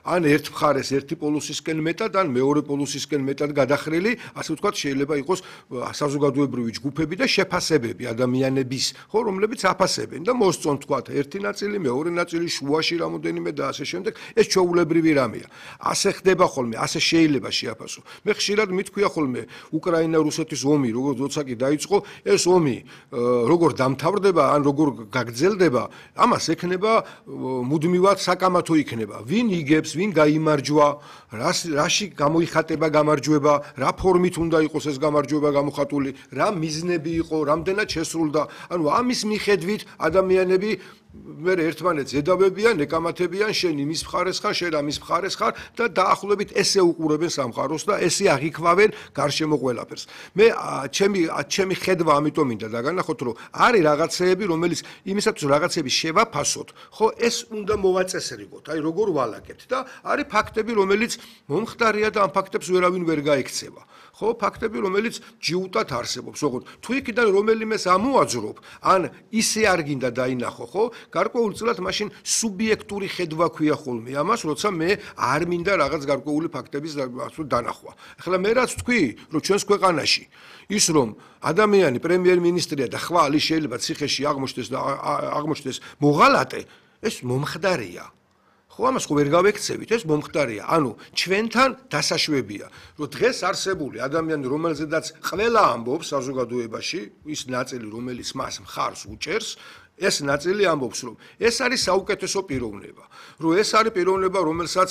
ან ერთ მხარეს ერთი პოლუსისკენ მეტად, ან მეორე პოლუსისკენ მეტად გადახრილი, ასე ვთქვათ, შეიძლება იყოს საზოგადოებრივი ჯგუფები და შეფასებები ადამიანების, ხო, რომლებიც აფასებენ და მოსწონთ, ვთქვათ, ერთი ნაწილი, მეორე ნაწილი, შუაში რამოდენიმე და ასე შემდეგ, ეს ჩვეულებრივი რამეა. ასე ხდება ხოლმე, ასე შეიძლება შეაფასო. მე ხშირად მithქვია ხოლმე, უკრაინა-რუსეთის ომი, როგორც როცა კი დაიწყო, ეს ომი როგორ დამთავრდება, ან როგორ გაგრძელდება, ამას ექნება მუდმივად საკამათო იქნება. ვინ იგებს, ვინ გაიმარჯვა, რაში გამოიხატება გამარჯვება, რა ფორმით უნდა იყოს ეს გამარჯვება გამოხატული, რა მიზნები იყო, რამდენად შესრულდა. ანუ ამის მიხედვით ადამიანები მე ერთმანეთს ედავებიან, ეკამათებიან, შენ იმის მხარეს ხარ, შენ ამის მხარეს ხარ და დაახლოებით ესე უყურებენ სამყაროს და ესე აღიქვავენ გარშემო ყველაფერს. მე ჩემი ხედვა ამიტომ მინდა დაგანახოთ, რომ არის რაღაცეები, რომელიც იმისათვის რაღაცები შევაფასოთ, ხო, ეს უნდა მოვაწესრიგოთ, აი როგორ ვალაგებთ და არის ფაქტები, რომელიც მომხდარია და ამ ფაქტებს ვერავინ ვერ გაექცევა. ხო, ფაქტები, რომელიც ჯიუტად არსებობს, ოღონდ თუ იქიდან რომელიმეს ამოაძრობ, ან ისე არ გინდა დაინახო, ხო, გარკვეულწილად მაშინ სუბიექტური ხედვა ქვია ხოლმე ამას, როცა მე არ მინდა რაღაც გარკვეული ფაქტების დანახვა. ახლა მე რაც თქვი, რომ ჩვენს ქვეყანაში ის რომ ადამიანი პრემიერ-მინისტრია და ხვალ ის შეიძლება ციხეში აღმოჩნდეს მოღალატე, ეს მომხდარია. ხო, ამას ხო ვერ გავექცევით, ეს მომხდარია. ანუ ჩვენთან დასაშვებია, რომ დღეს არსებული ადამიანი, რომელზედაც ყველა ამბობს საზოგადოებაში, ის ნაწილი, რომელიც მას მხარს უჭერს, ეს ნაწილი ამბობს, რომ ეს არის საუკეთესო პიროვნება, რომ ეს არის პიროვნება, რომელსაც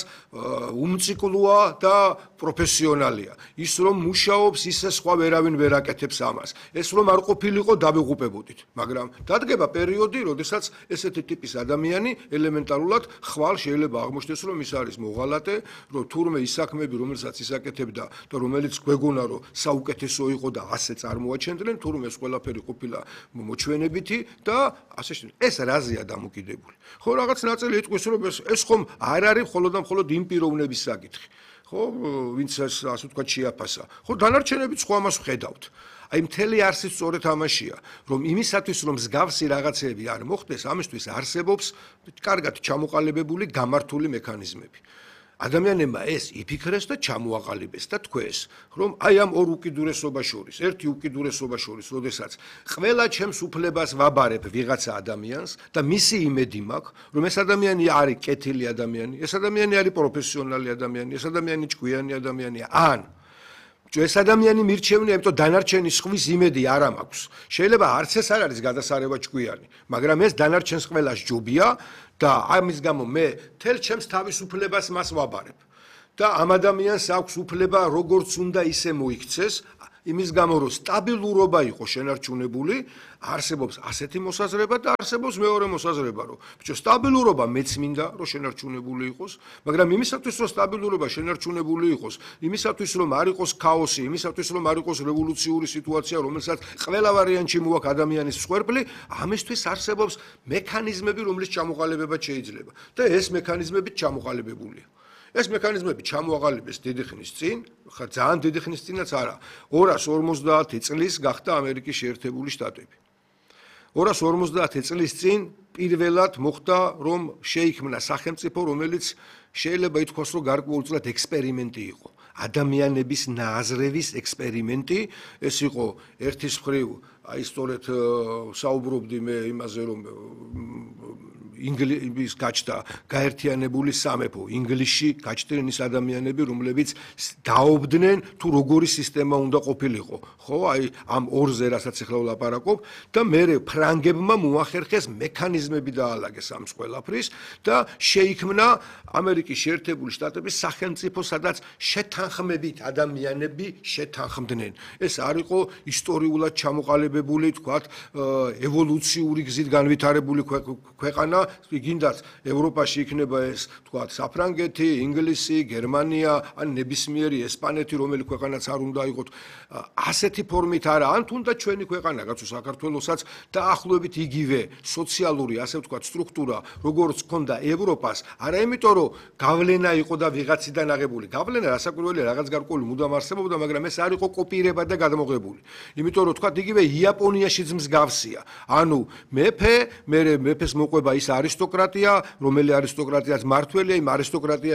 უმციკლოა და პროფესიონალია. ის რომ მუშაობს, ისე სხვა ვერავინ ვერ აკეთებს ამას. ეს რომ არ ყოფილიყო დავიღუპებოდით, მაგრამ დადგება პერიოდი, როდესაც ესეთი ტიპის ადამიანი ელემენტარულად ხვალ შეიძლება აღმოჩნდეს, რომ ის არის მოღალატე, რომ თურმე ის საქმეები, რომელსაც ის აკეთებდა და რომელიც გვეგონა, რომ საუკეთესო იყო და ასე წარმოაჩენდნენ, თურმე ეს ყველაფერი ყოფილა მოჩვენებითი და ასე შემდეგ. ეს რაზეა დამოკიდებული? ხო, რაღაც ნაწილი იტყვის, რომ ეს ხომ არ არის მხოლოდ და მხოლოდ იმ პიროვნების საკითხი. ხო, ვინც ასე ვთქვათ შეაფასა. ხო, დანარჩენებიც ხო ამას ვხედავთ. აი მთელი არსი სწორედ ამაშია, რომ იმისათვის რომ მსგავსი რაღაცეები არ მოხდეს, ამისთვის არსებობს კარგად ჩამოყალიბებული გამართული მექანიზმები. ადამიანებმა ეს იფიქრეს და ჩამოაყალიბეს და თქვეს, რომ აი ამ ორ უკიდურესობას შორის, ერთი უკიდურესობა შორის, როდესაც ყველა ჩემს უფლებას ვაბარებ ვიღაცა ადამიანს და მისი იმედი მაქვს, რომ ეს ადამიანი არის კეთილი ადამიანი, ეს ადამიანი არის პროფესიონალი ადამიანი, ეს ადამიანი ჭკვიანი ადამიანია, ან ეს ადამიანი მირჩევნია, იმიტომ დანარჩენი სხვის იმედი არ მაქვს. შეიძლება არც ეს არ არის გადასარევა ჭკვიანი, მაგრამ ეს დანარჩენს ყველას ჯობია და ამის გამო მე თელ ჩემს თავისუფლებას მას ვაბარებ. და ამ ადამიანს აქვს უფლება როგორც უნდა ისე მოიქცეს, იმის გამო რომ სტაბილურობა იყო შენარჩუნებული, არსებობს ასეთი მოსაზრება და არსებობს მეორე მოსაზრება, რომ ბიჭო სტაბილურობა მეც მინდა რომ შენარჩუნებული იყოს, მაგრამ იმისათვის რომ სტაბილურობა შენარჩუნებული იყოს, იმისათვის რომ არ იყოს ქაოსი, იმისათვის რომ არ იყოს რევოლუციური სიტუაცია, რომელსაც ყველა ვარიანტში მოაქვს ადამიანის მსხვერპლი, ამისთვის არსებობს მექანიზმები, რომლის ჩამოყალიბება შეიძლება და ეს მექანიზმები ჩამოყალიბებულია. ეს მექანიზმები ჩამოაყალიბეს დიდი ხნის წინ, ხა ძალიან დიდი ხნის წინაც არა, 250 წლის გახდა ამერიკის შეერთებული შტატები. 250 წლის წინ პირველად მოხდა, რომ შეიქმნა სახელმწიფო, რომელიც შეიძლება ითქვას, რომ გარკვეულწილად ექსპერიმენტი იყო. ადამიანების ნააზრევის ექსპერიმენტი, ეს იყო ერთის მხრივ, აი სწორედ საუბრობდი მე იმაზე, რომ ინგლისის გაჩნდა გაერთიანებული სამეფო, ინგლისში გაჩნდნენ ის ადამიანები, რომლებიც დაობდნენ თუ როგორი სისტემა უნდა ყოფილიყო. ხო, აი ამ ორზე რასაც ახლა ვლაპარაკობ და მე ფრანგებმა მოახერხეს მექანიზმები დაალაგეს ამ ყველაფრის და შეიქმნა ამერიკის შეერთებული შტატების სახელმწიფო, სადაც შეთანხმებით ადამიანები შეთანხმდნენ. ეს არ იყო ისტორიულად ჩამოყალიბებული, თქვათ, ევოლუციური გზით განვითარებული ქვეყანა, გინდათ ევროპაში იქნება ეს, თქვათ, საფრანგეთი, ინგლისი, გერმანია, ან ნებისმიერი ესპანეთი, რომელი ქვეყანაც არ უნდა იყოთ, ასეთი ფორმით არა, ან თუნდაც ჩვენი ქვეყანა, კაცო, საქართველოსაც დაახლოებით იგივე სოციალური, ასე ვთქვათ, სტრუქტურა, როგორც ჰქონდა ევროპას, არა იმიტომ, რომ გავლენა იყო და ვიღაციდან აღებული. გავლენა რასაკვირველია, რაღაც გარკვეული მუდამ არსებობდა, მაგრამ ეს არ იყო კოპირება და გადამოღებული. იმიტომ, რომ თქვათ, იგივე იაპონიაშიც მსგავსია. ანუ მეფე, მეფეს მოყვება ის არისტოკრატია, რომელი არისტოკრატიაც მმართველია, იმ არისტოკრატიაში